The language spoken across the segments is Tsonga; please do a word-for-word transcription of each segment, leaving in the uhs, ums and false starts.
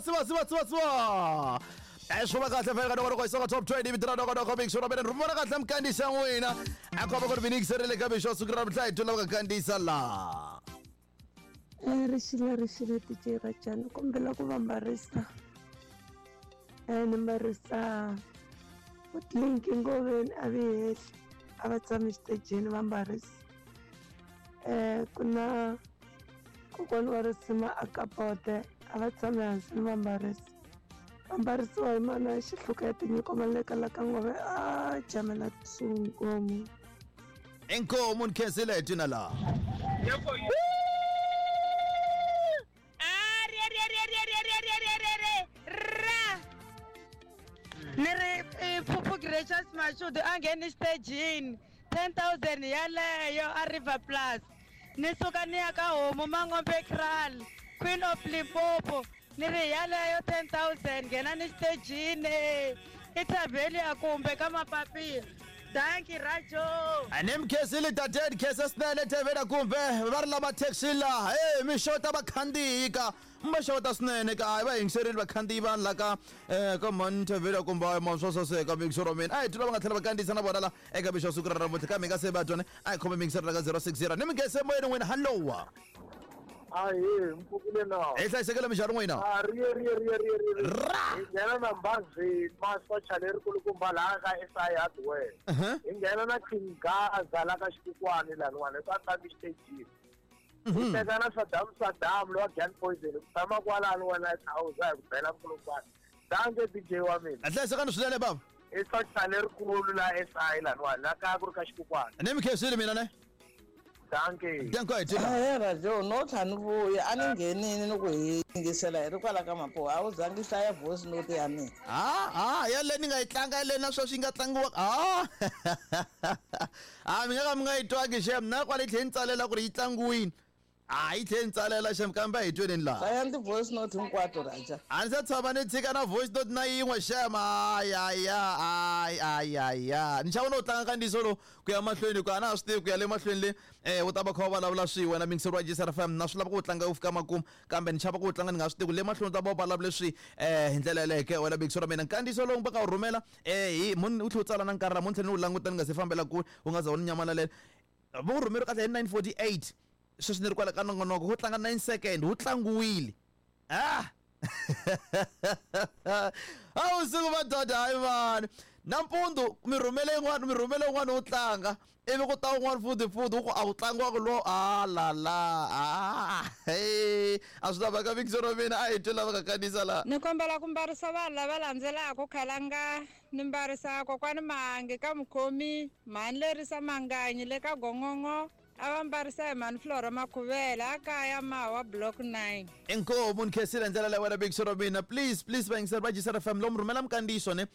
siwa siwa siwa siwa siwa swi va kahle fela ka nongonoko hi Songa Top twenty vito ra nongonoko mixo ra mina ni rhumela kahle mukandisa n'wina a komba ku ri mi yingiserile ka mixo siku ra namuntlha hi twa lava ka kandisa laha rixile rixile D J Rajani kombela ku va mbarisa ni mbarisa Linki Ngoveni a vi hehli a va tshami xitejini va mbarisa ku na kokwana wa risima a kapote a va tshami hansi ni va mbarisa va mbarisiwa hi mana xihluka ya tinyiko maleka la ka ngove a jamela tsunkomu. Inkomu nikhensile hi twina laha. Ni ri Phuphu Gracious Mashudu a ngheni xitejini ten thousand yaleyo a River Plus ni suka ni ya ka homu Mangombe Kraal Queen of Limpopo ni ri yaleyo ten thousand nghena ni xitejini i Thabelia kumbe ka mapapila. Dankie Rajo. Ani mkhensile tate khese swinene Thabelia kumbe va ri lava taxi laha hey mi xota vakhandziyi ka ma xota swinene ka hayi va yingiserile vakhandziyi vanhu la ka eh ka mhani Thabelia kumbe hayi ma swo saseka mixo ra mina a hi twa va nga tlhela va kandziyisa na vona la eka mixo siku ra namuntlha kambe hi nga se va twone a hi khome mixo ra ka zero six zero ni mi nge moyeni n'wina hallowa. Ahe mpfukile na hi hlayisekile minjhani n'wina a riye riye riye riye riye ra hi nghena na Mbazini masocha lerikulukumba laha ka S I Hardware hi nghena na King Gaza la ka Xikukwani laniwani ka tlangi xitejini hi teka na Saddam Saddam lowa Gun Poison ku tshama kwalano wena house hi ku bela nkulungwana danke D J wa mina a hlayisekani swinene bava i socha lerikulu la S I laniwani la ka ku ri ka Xikukwani ni mi khensile mina ne. Dankie. Dankie Tina. Ahee Rajo no tlha ni vuya a ni nghenini ni ku hi yingisela hi ri kwala ka Mapuwa a wu zangi hlaya voice note ya mina. Ah ah yale ni nga yi tlanga yale na sweswi yi nga tlangiwa ah ah mi nga ka mi nga yi twangi xem na kwale yi tlhe ni tsalela ku ri yi tlangiwini a yi tlhe ni tsalela xem kambe a hi tweneni laha. Hlayani ti-voice note hinkwato Raja. A ni se tshama ni tshika na voice note na yin'we xem ayaya ay ayaya ni xava no tlanga kandziyiso lowu ku ya mahlweni ku a na ha swi tivi ku ya le mahlweni le eh wu ta va kha va vulavula swi wena mixer wa G S R F M na swi lava ku wu tlanga wu fika makumu kambe ni xava ku wu tlanga ni nga swi tivi ku le mahlweni u ta va u vulavule swi eh hi ndlela yaleyo ke wena mixer wa mina nkandziyiso lowu va ka wu rhumela eh hi munhu u tlhe u tsala na nkarhi la munhu tlhela ni wu languta ni nga se fambela kule wu nga za wu ni nyamalalela va wu rhumeriwe kahle hi nine forty eight sweswi ni ri kwala ka nongonoko wu tlanga nine second wu tlangiwile ah a wusiku madoda hayi mani nampundzu mi rhumele yin'wana mi rhumele yin'wana wu tlanga ivi ku ta wun'wana futhi futhi wu ku a wu tlangiwaka lowo a la la a he a swi lavaka mixo ra mina a hi twi lava ka kanisa laha ni kombela ku mbarisa vanhu lava landzelaka khalanga ni mbarisa kokwani Mahangi ka Mukhomi mhani Lerisa Manganyi le ka Gongongo a va mbarisa hi mhani Flora Makhuvela a kaya Mawa block nine. Inkomu ni khensile ndlela leyi wena mixo ra mina please please vayingiseri va G S R F M lomu rhumela mikandziyiso ne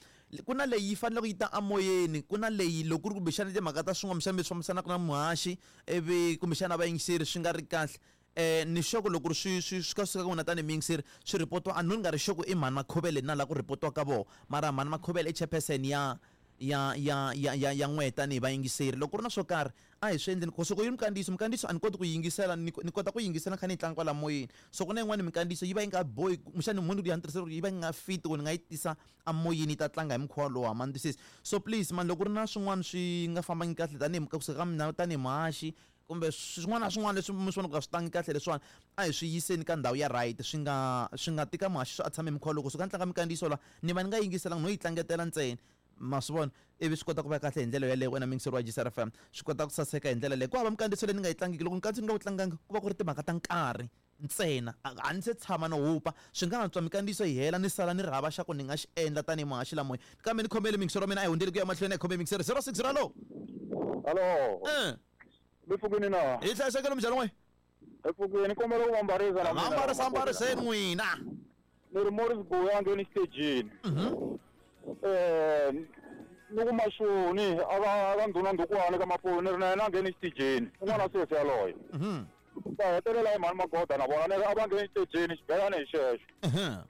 ku na leyi yi fanele ku yi ta amoyeni ku na leyi loko ku ri kumbexana timhaka ta swin'wana kumbexana mi swi fambisanaka na muhaxi ivi kumbexana vayingiseri swi nga ri kahle eh ni xoko loko ri swi swi swi ka suka ka n'wina tanihi muyingiseri swi ripotiwa a ni nga ri xoko i mhani Makhuvele na la ku ripotiwa ka vona mara mhani Makhuvele i chairperson ya ya ya ya ya ya n'we tanihi vayingiseri loko ku ri na swo karhi a hi swi endleni so ku yi mikandziyiso mikandziyiso a ni koti ku yingisela ni ni kota ku yingisela kha ni yi tlanga kwala moyeni so ku na yin'wani mikandziyiso yi va yi nga bohi kumbexani munhu ya ni tirhisela ku yi va yi nga fit ku ni nga yi tisa amoyeni yi ta tlanga hi mukhuva lowu ma ni twisisi so please man loko ku ri na swin'wana swi nga fambangi kahle tanihi kusuka ka mina tanihi muhaxi kumbe swin'wana na swin'wana leswi mi swi vonaka swi tangi kahle leswiwani a hi swi yiseni ka ndhawu ya right swi nga swi nga tika muhaxi swi a tshame hi mukhuva loko suka ni tlanga mikandziyiso la ni va ni nga yingiselanga no yi tlangetela ntsena ma swi vona ivi swi kota ku va kahle hi ndlela yaleyo wena mixer wa G S R F M swi kota ku saseka hi ndlela leyo ku hava mikandziyiso leyi ni nga yi tlangiki loko nkandziyiso ni nga wu tlangangi ku va ku ri timhaka ta nkarhi ntsena a ni se tshama no hupa swi nga antswa mikandziyiso yi hela ni sala ni ri hava xa ku ni nga xi endla tanihi muhaxi lamoya kambe ni khomele mixer wa mina a hi hundzeli ku ya mahlweni a hi khome mixer zero six zero hallo hallo eh mi pfukini na hi hlayisekile minjhani n'we hi pfukini kombela ku va mbarisa na mina mbarisa mbariseni n'wina ni ri Morris Buya ngheni xitejini eh ni ku Mashoni a va va ndhuna ndhukwani ka Mapuwa ni ri na yena a ngheni xitejini un'wana sesi yaloye va hetelela hi mhani Magoda na vona ni ri a va ngheni xitejini xibelani hi xexo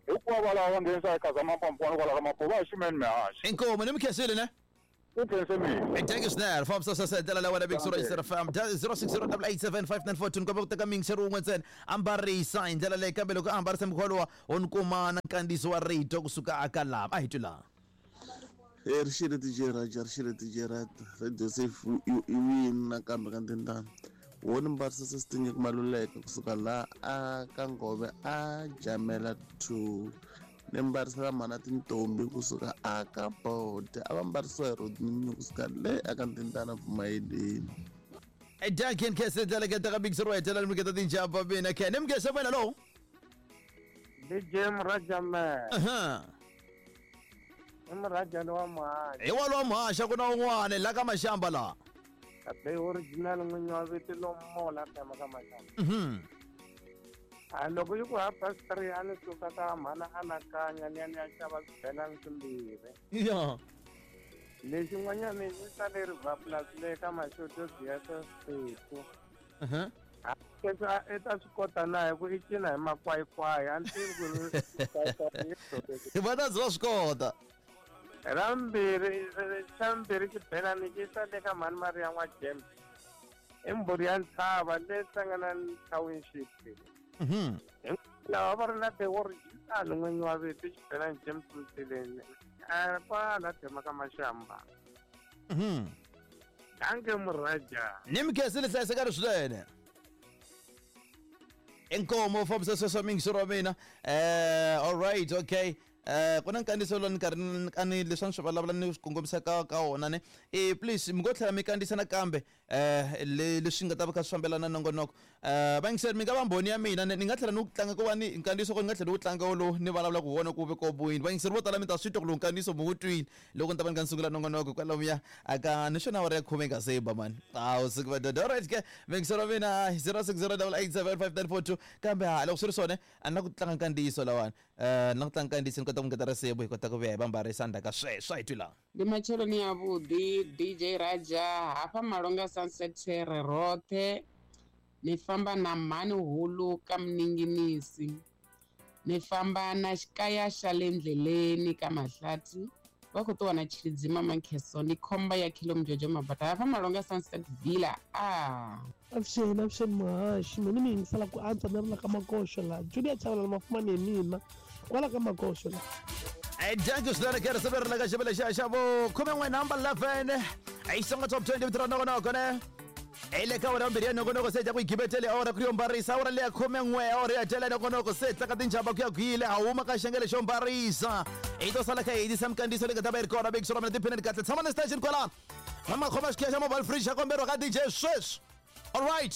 hikuva valava va nghenisa hi Khaza Mampambukwana kwala ka Mapuwa va hi xumeni mihaxi inkomu ni mi khensile ne U khense mina. Thank you swinene. Fambisa sweswo hi ndlela leyi wena Big Sura Yisera F M zero six zero eight seven five nine four two ni kombela ku teka miyingiseri wun'we ntsena ambarisa hi ndlela leyi kambe loko a ambarisa mukhuva lowa wo ni kuma na nkandziyiso wa rito kusuka aka lava a hi twi laha. E rixile D J Raja, rixile D J Raja, Radio Safe i wini nakambe ka Ndindana. Wo ni mbarisa sesitinye ku Maluleke kusuka laha a ka Ngove a Jamela two. Ni mbarisela mhana tintombi kusuka a ka Bode, a va mbarisiwa hi Rodney kusuka le aka Ndindana Pfumayeleni. Duncan Kese ndlela ke teka Big Sura hetelela mi keta tinjamba mina ke ni mukese wena lo. D J Mrajame. Aha. Mrajane wa Muhaxa. Hi walowa Muhaxa ku na un'wana la ka Maxamba la. Kabe original n'winyi wa vito lomola tama ka Maxamba. Mhm. A loko yi ku half past three a ni suka ka mhana anakanya ni ya ni ya xava swibelani swimbirhi. Ya. Lexi n'wanyana i sale River Plus le ka Maxoto Theatre State. Mhm. Leswi a i ta swi kota na hi ku i cina hi makwayikwayi a ni tivi ku ri Va ta ze va swi kota. Ra mbirhi xa mbirhi xibelani xi sale ka mhani Maria n'wa James i mbhuri ya ntshava le Hlanganani Township. Mhm. Lava va ri na the original n'winyi wa vito xibelani James Mtileni a kwala tema ka Maxamba. Mhm. Danke Muraja. Ni mikese le hlayisekani swinene. Inkomo fambisa sweswo miyingiseri wa mina. Eh all right, okay. Eh ku na nkandziyiso lowu ni karhi a ni leswi a ni swi vulavula ni swi kongomisa ka ka wona ne. Eh please mi ngo tlhela mi kandziyisa nakambe eh leswi nga ta va kha swi fambelana na nongonoko. Eh vayingiseri mi nga va mbhoni ya mina ni nga tlhela ni wu tlanga ku va ni nkandziyiso ku ni nga tlhela ni wu tlanga wolowo ni vulavula ku wona ku ve ko buyini. Vayingiseri vo tala mi ta swi twa ku lowu nkandziyiso mi wu twile loko ni ta va ni kha ni sungula nongonoko kwalomuya aka ni xona awara ya khume yi nga se ba mani. Hawu siku va dodo. All right ke vayingiseri wa mina zero six zero eight seven five nine four two kambe ha loko swi ri swona a ni la ku tlanga nkandziyiso lawani. Eh ni la ku tlanga nkandziyiso ni kota ku ngeta risimu hi kota ku vuya hi vambarisa ndzhaku ka sweswo a hi twi laha. Ndi matsheloni avhuḓi D J Raja hafha Malonga Sunset Terre roṱhe ni famba na mhani hulu ka Mninginisi ni famba na xikaya xa le ndleleni ka Mahlathi va khou ṱuwa na Tshilidzi Mamakheso ni khomba ya Khilomjojo Mabata hafha Malonga Sunset Villa a avuxeni avuxeni muhaxi mina mi yingisela ku antswa ni ri la ka Makoxo laha Julia Chavalala Mafumani hi mina kwala ka Makoxo laha. Danke swinene ke ri ri la ka xivele xa xa vo khume n'we number eleven i songa top twenty vito ra nongonoko ne hi le ka wena mbirhi ya nongonoko se dya ku yi gibetele awara ku yo mbarisa awara leya khume n'we awara ya tela nongonoko se tlaka tinjhamba ku ya kwile a huma ka xengele xo mbarisa hi to sala kha hi yisa minkandziyiso leyi nga ta va yi ri kona Big Sura mina tiphineni kahle tshama na station kwalano n'wamakhoma xikhiya xa mobile fridge xa komberiwa ka D J sweswi. All right.